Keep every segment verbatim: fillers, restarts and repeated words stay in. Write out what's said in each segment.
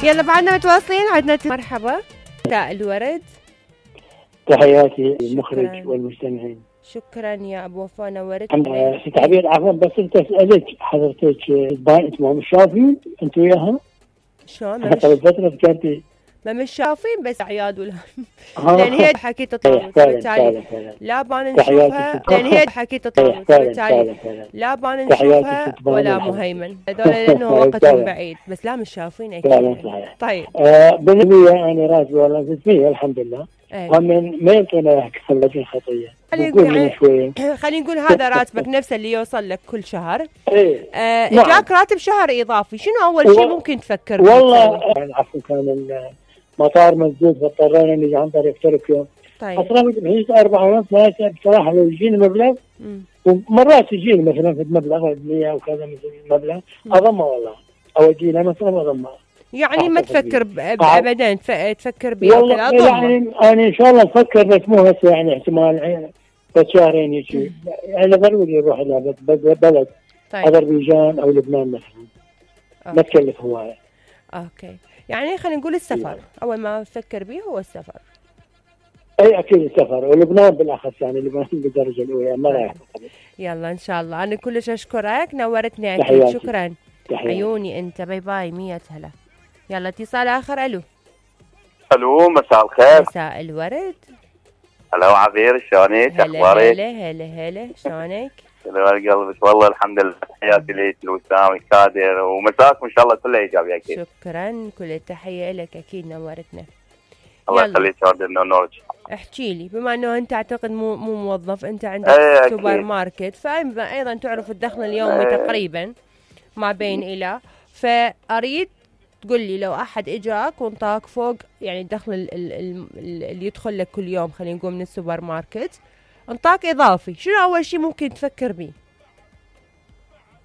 يلا بعدنا متواصلين. عدنا مرحبا. مساء الورد. تحياتي المخرج والمستمعين. شكرا يا ابو وفاء، نورت. ست عبير عفوا بس انت اسالك حضرتك انت مش شايفين انت وياها؟ شلون؟ قبل فتره ذكرتي ما مش شايفين بس عياد ولا لان هي حكيت تطاوت بالتالي لا بان نشوفها، لان هي حكيت تطاوت بالتالي لا بان نشوفها ولا مهيمن، هذول لانه وقتهم بعيد بس لا مش شايفين اكيد. طيب آه بالنسبه انا راتبي والله فيه الحمد لله. ومن ما يمكن لك الخطيه خلينا نقول هذا راتبك نفسه اللي يوصل لك كل شهر. ايه آه اجاك راتب شهر اضافي، شنو اول شيء ممكن تفكر فيه؟ والله عفوا كان المطار مسدود فاضطرينا نجي عن طريق تركيا. طيب اصرفت بحدود أربعة ونص ثلاثة بصراحه لو يجيني مبلغ ومرات يجيني مثلا في مبلغ مية او كذا مثل مبلغ اضمه والله اودي لها مثلا اضمه. يعني ما تفكر ابدا تفكر بها والله يعني انا ان شاء الله افكر بس مو هسه يعني احتمال بس شهرين يجي يعني ضروري يروح الى بلد. طيب. اذربيجان او لبنان مثلا. ما تكلف هوايه. اوكي يعني خلينا نقول السفر يعني. اول ما تفكر به هو السفر. اي اكيد السفر ولبنان بالاخص يعني لبنان بالدرجه الاولى ما رايح. يلا ان شاء الله. انا كلش اشكرك نورتني اكيد. شكرا تحياتي. عيوني انت باي باي مية هلا. يلا اتصال اخر. الو الو مساء الخير. مساء الورد. هلا عبير شلونك اخبارك؟ هلا هلا هلا شلونك؟ هلا قلبك والله الحمد لله. تحياتي ليك الوسام والكادر ومساكم ان شاء الله كله ايجابي اكيد. شكرا كل التحيه لك اكيد نورتنا. الله يخليك وردنا نورك. احكي لي بما انه انت اعتقد مو مو موظف، انت عندك سوبر ماركت فايضا تعرف الدخل اليومي تقريبا ما بين الى، فاريد تقول لي لو احد اجاك وانطاك فوق يعني الدخل اللي يدخل لك كل يوم خلينا نقول من السوبر ماركت انطاك اضافي، شنو اول شيء ممكن تفكر به؟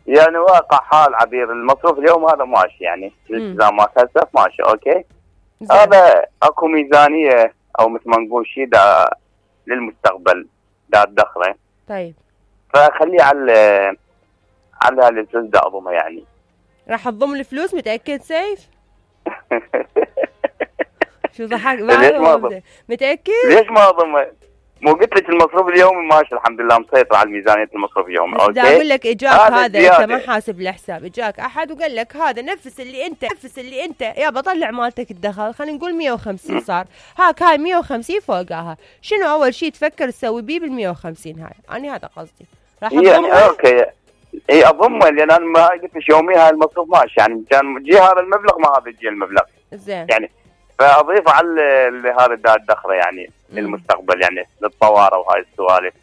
يعني واقع حال عبير المصروف اليوم هذا ماشي يعني الالتزامات هسه ماشي اوكي. زي. هذا اكو ميزانيه او مثل ما نقول شيء دا للمستقبل دا تدخله. طيب فخليه على على الفلوس دا اضمها يعني. راح تضم الفلوس متاكد سيف؟ شو ضحك؟ ليش ما اضم؟ متاكد؟ ليش ما اضم؟ مو قلت لك المصروف اليومي ماشي الحمد لله مسيطر على ميزانيه المصروف اليومي اوكي. بدي اقول لك اجاك هذا زيادة. انت ما حاسب الحساب، اجاك احد وقال لك هذا نفس اللي انت نفس اللي انت يابا طلع مالتك الدخل خلينا نقول مية وخمسين صار، هاك هاي مية وخمسين فوقها، شنو اول شيء تفكر تسوي بيه بال مية وخمسين هاي؟ انا هذا قصدي. راح يعني اوكي اي اضمه لان انا ما قلت لك يومي هاي المصروف ماشي يعني كان يجي هذا المبلغ ما هذا يجي المبلغ. زين. يعني فاضيف على هذا الدخل يعني للمستقبل يعني للطوارئ وهاي السوالف.